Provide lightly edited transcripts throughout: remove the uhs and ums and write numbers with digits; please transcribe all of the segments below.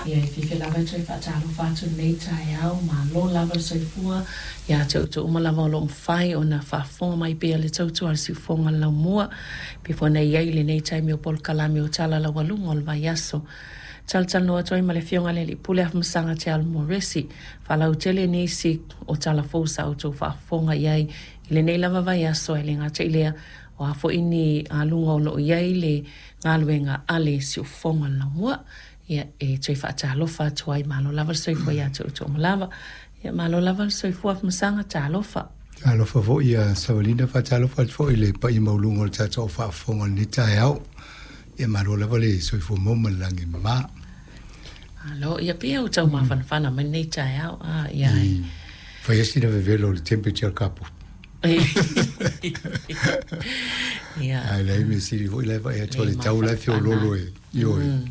Ia, e fiafia lava e toe faatalofa atu i lenei taeao, malo lava le soifua ia te outou uma lava o lo o mafai ona faafofoga mai pea le tautua a le siufofoga o le laumua, pei foi ona i ai lenei taimi o polokalame o Tala Laualuga o le Vaiaso. Talatalanoa atu ai ma le Afioga i le Alii Pule Afamasaga Te Alo Moresi, faalautele nisi o tala fou sa outou faafofoga i ai i lenei lava vaiaso, ae le gata i lea, o a foi ni aluga o lo o i ai le galuega a le siufofoga o le laumua. Ia, e toe faatalofa atu ai, malo lava le soifua ia te outou uma lava. Ia, malo lava le soifua Afamasaga, talofa. Talofa foi ia Savalina, faatalofa atu foi i le paia maualuga o le tatou faafofoga i lenei taeao. Ia malo lava le soifua maua ma le lagi e mama. Malo, ia pei ua tau mafanafana mai lenei taeao. Ah, ia. I fai sina vevelo o le temperature o le kapu. Ia. Ae leai mea sili foi la e vaai atu o le tau la e feoloolo e ioe.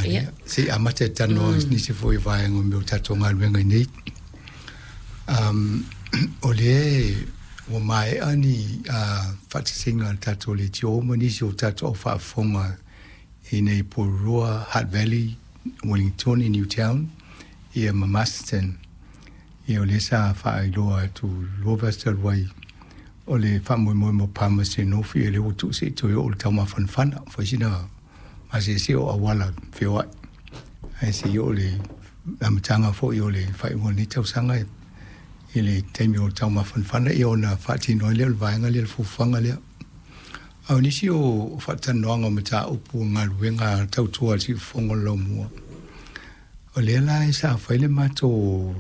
Ia. Se i amata e talanoa nisi foi o vaega o mea o tatou galuega i nei. O lea ua maea ni faatasiga a le tatou leitio ma nisi o tatou au faafofoga i nei Porirua, Hutt Valley, Wellington, Newtown, ia ma Masterton. Ia o lea sa faailoa atu lua vaiaso talu ai o le faamoemoe mo Palmerston North, ia lea ua tuu se i toe oo i le taumafanafana, fai sina maseese o auala feoai. Ae se i oo i le amataga foi o le faaiuga o lenei tausaga i le taimi o le taumafanafana, ia ona faatino ai lea o le vaega lea, le fuafuaga lea. A o nisi o faatalanoaga o mataupu o galuega tautua a le siufofoga o le laumua, o lea la e sa fai le matou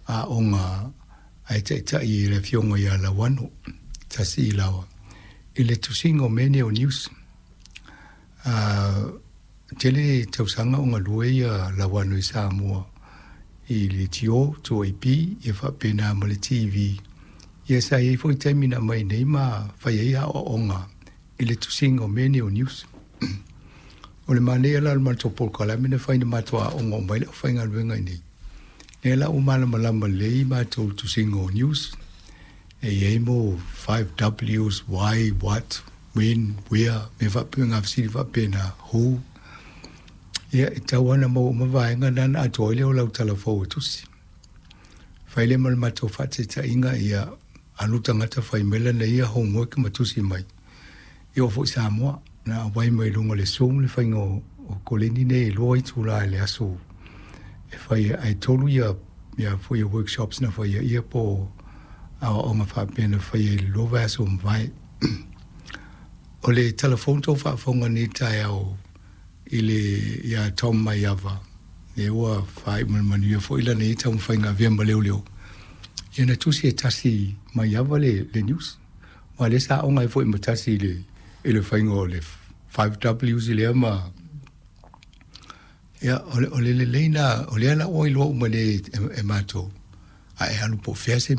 aoga a e taitai i le afioga ia Lauano Tasi Ilaoa i le tusiga o mea nei o news. Tele tausaga o galue ia Lauano i Samoa i le GO, 2AP, ia faapena ma le TV. Ia sa i ai foi taimi na aumai nei ma fai ai aoaoga i le tusiga o mea nei o news. O le manaia la o le matou polokalame na fai na matou aoga uma ai le aufaigaluega i inei. Lea la ua malamalama lelei matou i le tusiga o news. E i ai mo 5 Ws, why, what, when, where, mea faapena, fesili faapena, who. Ia, e tatau lava ona maua uma vaega na ona atoa ai lea o lau tala fou e tusi. Fai lea ma le matou faataitaiga, ia alu tagata fai mai lana ia homework ma tusi mai. E oo foi i Samoa, na aumai mai luga o le Zoom le faiga o koleni nei e 2 itula i le aso e fai ai, ae 3 ia foi ia workshops na faia ia po aoaoga faapea na faia i le 2 vaiaso ua mavae. O le telefoni tou faafofoga nei taeao i le ia Tom Maiava, lea ua faaiu ma le manuia foi lana ia taumafaiga avea ma leoleo, ia na tusi e Tasi Maiava le news. Aua o lea sa aoga ai foi ma Tasi i le faiga o le 5Ws lea ma... Ia, o le lelei lena, o lea la ua iloa uma nei e matou, a e alu po o fea se